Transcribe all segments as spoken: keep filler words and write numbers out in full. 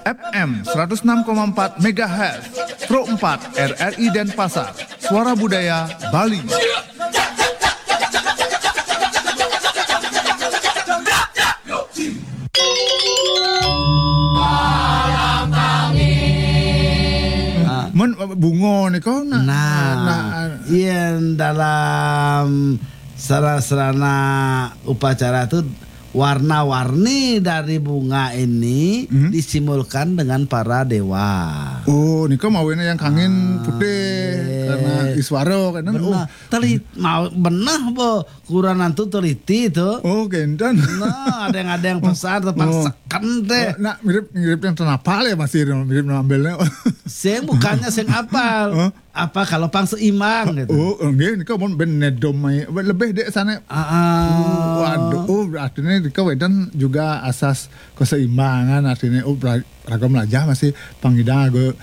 F M seratus enam koma empat megahertz, Pro empat R R I Denpasar, Suara Budaya Bali. Ah, mun bunga nika, nah, nah, nah, yen dalam sarana-sarana upacara tu, warna-warni dari bunga ini, hmm, disimbolkan dengan para dewa. Oh, nika mawena yang kangin putih, nggih, karena iswara kan. Bener. Oh. Telit-, mau beneh, bo. Kurangan tu teliti tu. Oh, kenten. Nah, ada yang, ada yang pesan tu, oh, pang seken teh. Oh, nak mirip, mirip yang tenapal ya, masih mirip ngambilnya. Sing bukannya sing apal. Hah? Apa kalau pang seimbang gitu? Oh, nggih, nika mun ben nedom mai. Lebih dek sana. Ah, ah. Oh, waduh, oh, artinya nika wedan juga asas keseimbangan, artinya, oh, bela-, raga melajah masih pangidang raga,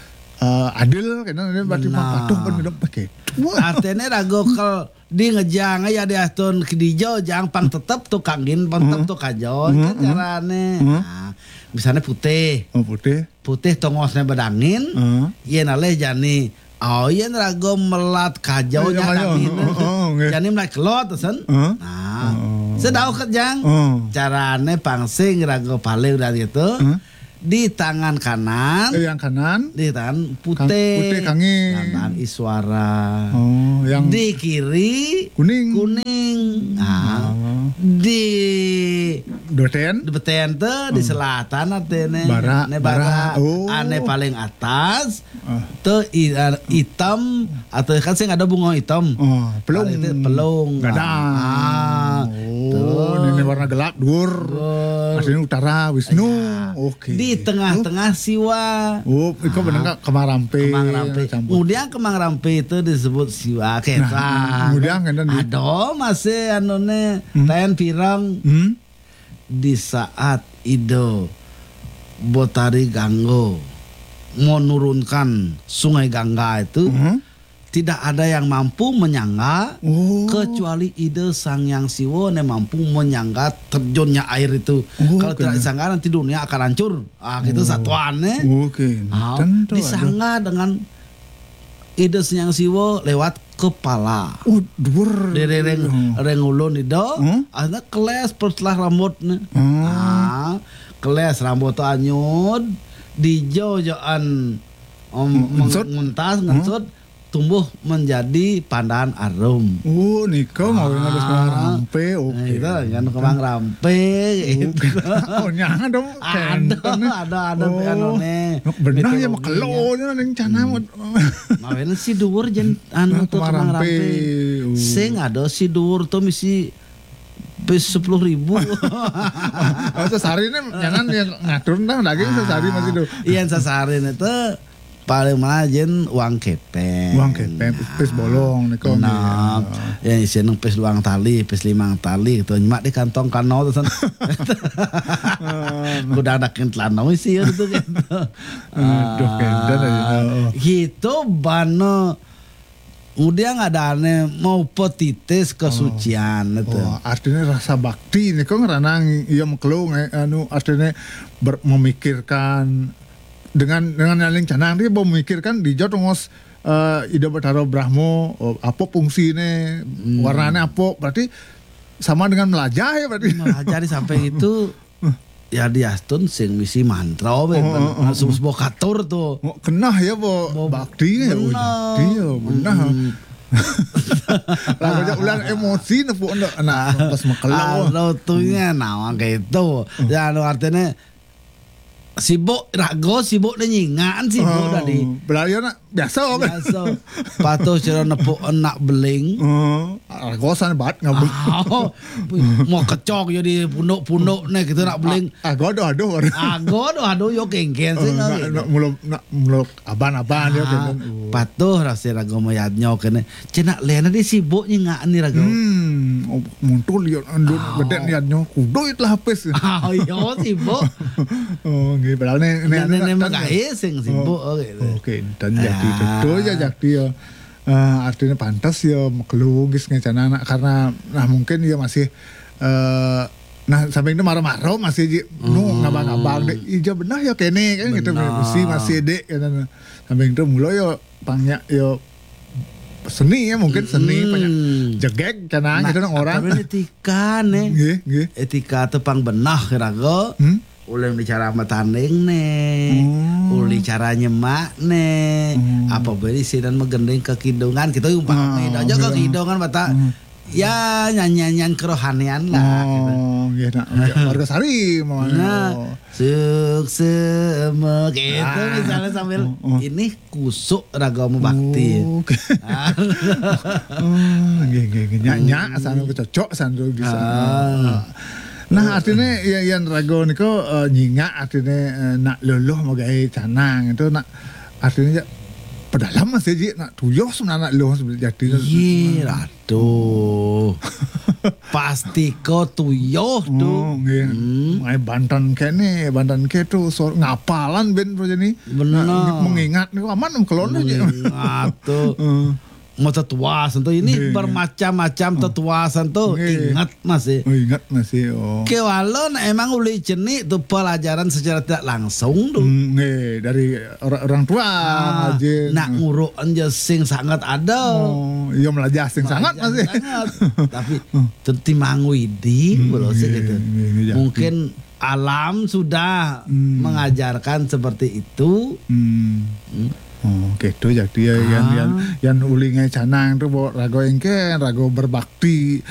eh, adil, kena dia berarti pang patuh pun, nah, kena pakai. Wah. Artinya raga kel di ngejang ya di atun kedija, jang pang tetep tu kangin, pang tetep tu kajo, hmm, itu, hmm, carane. Hmm. Nah, misalnya putih. Oh, putih. Putih tongosnya bedangin, hmm, yen alih jani. Oh, yen raga melat kajo, iya, nya, iya, dangin. Oh, oh, nggih. Jani melat kelot, sen. Hmm. Nah, oh, sedau ket, jang. Oh. Carane pang sing raga paling dari itu. Hmm. Di tangan kanan, eh, yang kanan, di tangan putih, putih kangin. Lambang iswara. Oh, yang di kiri kuning. Kuning. Nah, oh, di beten, di beten tu, di, hmm, selatan artinya. Bara, ne bara. Bara. Oh. Ane paling atas. Ah. Tu i-, ah, item atau kan sing ada bunga item. Oh, pelung. Kalau itu pelung. Gadang. Ah, oh, tu. Ini warna gelap, dur. Dur. Aslinya utara, Wisnu. Ya. Oke. Di tengah-tengah Siwa. Oh, itu, ah, bener nggak? Kemang Rampe. Kemang Rampe. Campur. Kemudian Kemang Rampe itu disebut Siwa. Nah, kemudian kan di- ada masih anu ne, hmm, ten pirang. Hmm? Di saat Ida Betari Gangga menurunkan Sungai Gangga itu, mhm, tidak ada yang mampu menyangga, oh, kecuali Ida Sang Hyang Siwa yang mampu menyangga terjunnya air itu. Oh, kalau tidak disangga, nanti dunia akan hancur. Ah, gitu, oh, satuan, eh. Oke. Ah, tentu disangga ada dengan Ida Sang Hyang Siwa lewat kepala. Oh, dhuwur. Dari ring, hmm, ring ulun Ida, hmm, akhirnya keles setelah rambutnya. Hmm. Ah, keles rambut tu anyud, dijojaan, em, hmm, ngensut, nguntas, hmm, ngensut, tumbuh menjadi pandan arum. Oh, nika mawin harus, ah, kemang rampe, nah, oke. Itu kan kemang rampe, oh, gitu. Oh, nyang ada, ada, ada, ada, oh, anu nih, benar ya, mitologinya. Makelo nya ning canang. Hmm. Mawin si dhuwur jen anu tu kemang rampe. Kemang rampe. Oh. Sing ada si dhuwur tu misi pis sepuluh ribu. Oh, sesari ini jangan yang ngatur dah, daging sesari masih tu. Ah, iya, sesari itu paling mana jen uang kepeng. Uang kepeng, pis, pis bolong ni kau ni. Nah, ya, isi nang pis duang tali, pis limang tali tu. Nyemak di kantong kano tu san. Kuda adakin telana isi ya tu kan. Aduh, kenten aja. Ah, oh, gitu bana. Kemudian ada ane mau petitis kesucian itu. Oh, artinya rasa bakti ni kau ngeranang iya makelo, eh, anu, artinya ber-, memikirkan dengan, dengan nyaling canang dia memikirkan di jauh tengos, eh, Ida Betara Brahma, oh, apa fungsinya, hmm, warnanya apa, berarti sama dengan melajah ya berarti. Melajah sampai itu, ya diastun sing misi mantra, oh, oh, oh, sebuah katur tu. Oh, kenah ya, bo, bo bakti ya, benar. Bakti ya, benar. Mm-mm. Lah, banyak ulang emosi nepuk ndak, anak pas makelo. Anu tu nya, nah, kayak itu. Hmm. Ya, anu artinya sibuk, raga sibuk dia nyingan, sibuk tadi. Belaya nak biasa kan? Biasa. Patuh cara nepuk anak beling. Oh, raga san bat ngabuk. Ah, oh, mau kecok ya di punduk-punduk ni kita nak beling. Ah, raga aduh, aduh. Raga aduh, aduh, yo kengken sih. Oh, nak, nak mula, nak mula aban-aban dia, ah, kengken. Oh. Patuh rasa raga mayadnya kena. Cina lena dia sibuk nyingan ni raga. Hmm, oh, muntul ya, andun, ah, bedek niatnya, kudu itulah habis. Ah, iya, sibuk. Oh, nggih, padahal ni, ni, nah, ni, ni, ni, ni, makai sing sibuk, oh, gitu. Oke, dan jadi, ah, betul ya, jadi ya. Eh, artinya pantas ya, makelo gis ngencana anak, karena, nah, mungkin ya masih, eh, Nah, samping tu maro-maro masih ji. Nu ngabang-ngabang dek. Ija benah ya kene kan gitu. Benah. Mesti masih dek kan. Samping tu mula ya pang nyak ya seni ya, mungkin seni pang nyak jegeg canang gitu nang orang. Tapi etika ne. Nggih, nggih. Etika tu pang benah raga. Hmm? Ulih bicara sama tanding ne. Hmm. Ulih cara nyemak ne. Hmm. Apa beri sidan magending ke kidungan. Kita umpama aja ke kidungan, bata. Hmm. Ya, nyanyian-nyanyian kerohanian lah, gitu. Oh, nggih, nak. Warga Sari, mau. Nah, suksema, gitu, misalnya sambil, "Ini kusuk raga mau bakti." Oh, oke. Ah. Oh, nggih, nggih, nggih. Nyak, nyak, sana cocok, sana bisa. Ah. Nah, artinya, ya, yang raga niku, eh, nyingak, artinya, eh, nak luluh mau gawe canang, itu nak, artinya, ya, pedalam masih ji, nak tuyuh sebenarnya nak luluh sebenarnya jati. Iya, Ratu. Pasti ko tuyuh tu. Oh, nggih. Hmm. Mai banten kene, banten ke tu, so, ngapalan ben tu jadi. Benar. Nah, mengingat ni aman kelon aja. Mengingat tu. Hmm. Mau tetuasan tu ini bermacam-macam tetuasan tu. Nggih. Ingat masih. Oh, ingat masih. Oh. Kewala nak emang uli cenik tu pelajaran secara tidak langsung tu. Hmm, nggih, dari orang, orang tua. Ah, nak nguruk anja sing sangat ada. Oh, iya melajah sing sangat masih. Sangat. Tapi tetimbang widi, hmm, kalau saya gitu. Mungkin alam sudah mengajarkan seperti itu. Hmm. Hmm. Oh, gitu jadi ya, yang, yang, yang uli ngai canang tu bawa raga engke, raga berbakti,